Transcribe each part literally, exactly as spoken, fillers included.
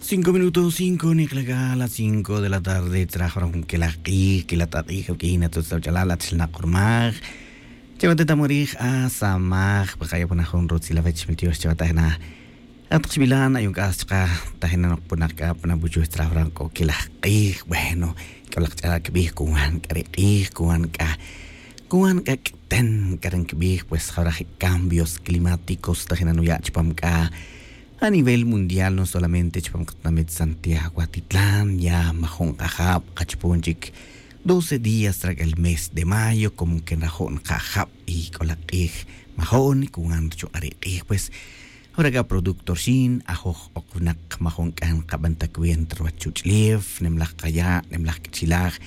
Cinco minutos cinco nik'laj c'a las cinco de la tarde tzraj ora jun quelaj k'ij quelaj t'ak'ij awuq'uin atzutz awach'alal atzil nak'urmaj. Chawatetamorik asamaj pa kaya' puna jun rutzil awech miltiox chawatajina. Atak xbilan ayon k'as chaka tajina noq puna k'a puna buchuj tzraj ora k'o quelaj k'ij. Bueno, k'o laj ch'alal kibij kuwan k'a ri k'ij kuwan k'a kuwan k'a k'iten k'a rin kibij pues jawra je' cambios climáticos tajina nuya' chupam k'a a nivel mundial no solamente chupam qatinamit santiago atitlan ya majo'n qajab' qachupon chik doce días rak'al mes de mayo como que nrajo'n qajab' y k'o laj q'ij majo'n kuwan chuq'a' ri q'ij pues. Jawra k'a producto rxin ajoj oq winaq majo'n k'a nqaban ta cuenta ruwach chuch'lef nemlaj qaya' nemlaj k'ichelaj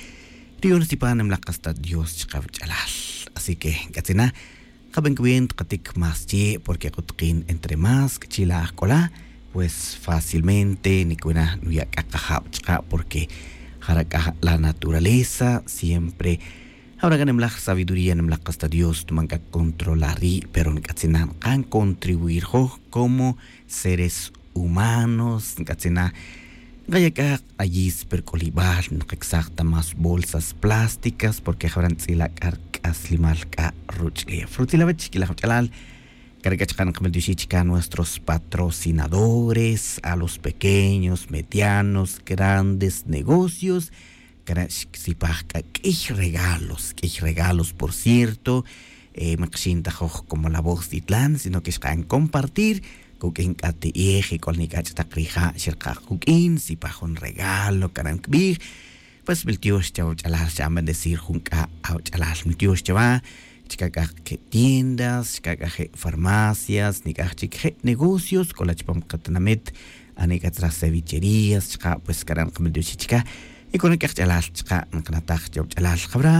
riyon rsipan nemlaj qas ta dios chaqawach'alal. Así que nk'atzin na qaban cuenta qatik más chie' porque qutqin entre más k'ichelaj k'ola pues fácilmente nikwina nuya' k'a qajab' chaqa' porque jara' k'a la naturaleza siempre. Jawra k'a nemlaj sabiduría nemlaj qas ta dios nuban k'a controlar ri' pero nk'atzin na nqan contribuir joj como seres humanos nk'atzin na. Nqaya' k'a q'ayis pe ruk'olibal nqaksaj ta más bolsas plásticas porque jawra ntz'ila' k'a rk'aslimal k'a ruch'lef rutzil awech k'ilaj wach'alal. Kare' k'a chaqa' nqamiltioxij chika nuestros patrocinadores a los pequeños medianos grandes negocios. Kare' xsipaj k'a k'iy regalos k'iy regalos por cierto. Maqaxin ta joj como la voz titlan sino que xqa'n compartir kuk'in k'a ti'ej y k'ol nik'ach' taq rija' xerqaj kuk'in sipaj jun regalo kare' nkibij. Pues miltiox chawa wach'alal xa'an bendecir jun k'a awach'alal miltiox chawa. Chika' k'a je' tiendas chika' k'a je' farmacias nik'aj chik je' negocios k'ola chupam qatinamit. Anik'a tzraj cevicherías chaqa' pues kare' nqamiltioxij chika'. Y k'o nik'aj ch'alal chaqa' nqanataj chawa wach'alal jawra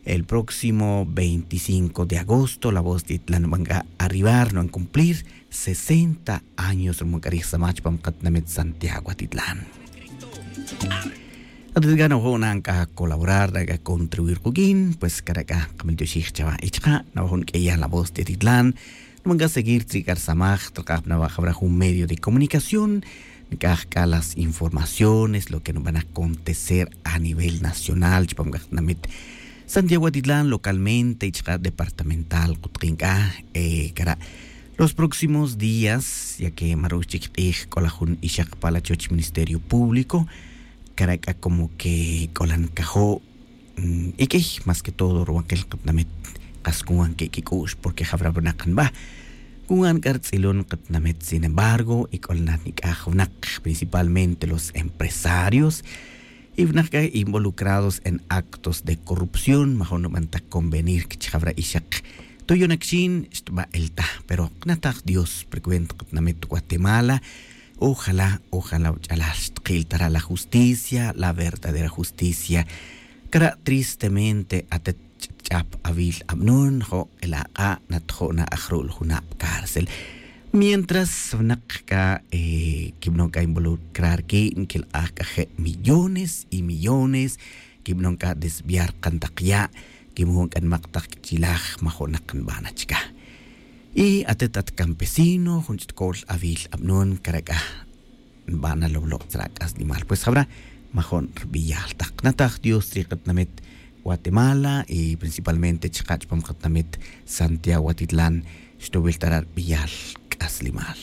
el próximo veinticinco de agosto la voz titlan nuban k'a arribar nuban cumplir sesenta años ruman k'a rij samaj chupam qatinamit santiago atitlan. Atit k'a nawajo' nan k'a colaborar nan k'a contribuir kuk'in pues kare' k'a nqamiltioxij chawa y chaqa' nawajo' nk'eyan la voz titlan. Nuban k'a seguir tzri' k'a rsamaj traqaj pa nawa' jawra jun medio de comunicación nik'aj k'a las informaciones lo que nuban acontecer a nivel nacional chupam k'a qatinamit santiago atitlan localmente y chaqa' departamental qutqin k'a. Kara' los próximos días ya que ma rux chik q'ij k'ola jun ixaq pa la choch ministerio público. Kara' k'a como que k'ola nkajo' y k'iy más que todo ruwaqil qatinamit qas kunwan ke' kik'u'x porque jawra winaq nba kunwan k'a rtz'ilon qatinamit sin embargo y k'ola na nik'aj winaq principalmente los empresarios y winaq k'a involucrados en actos de corrupción majo'n nuban ta convenir kichijawra ixaq. Tuyon akixin xtba' el ta pero qnataj dios precuenta qatinamit guatemala. Ojalá ojalá wach'alal xtqil ta ra' la justicia la verdadera justicia. Kara' tristemente atet ch'ap awil abnon jo' el ak'a' natjo' na aj ru'l junab' cárcel. Mientras wineq k'a kibanon k'a involucrar ki' nkelq'aj k'a je' millones y millones. Kibanon k'a desviar qan taq ya' kibanon k'a nmaq taq k'ichilaj majo'naq nb'an achka. Y atet at campesino jun ch'it ko'l awil abnon kare' k'a nb'an na lowloq' tzra' k'aslimal pues jab'ra' majo'n rb'iyal taq nataj dios ri qatinamit guatemala y principalmente chqa' chpam qatinamit santiago atitlan. Xtowil ta ra' rb'iyal k'aslimal.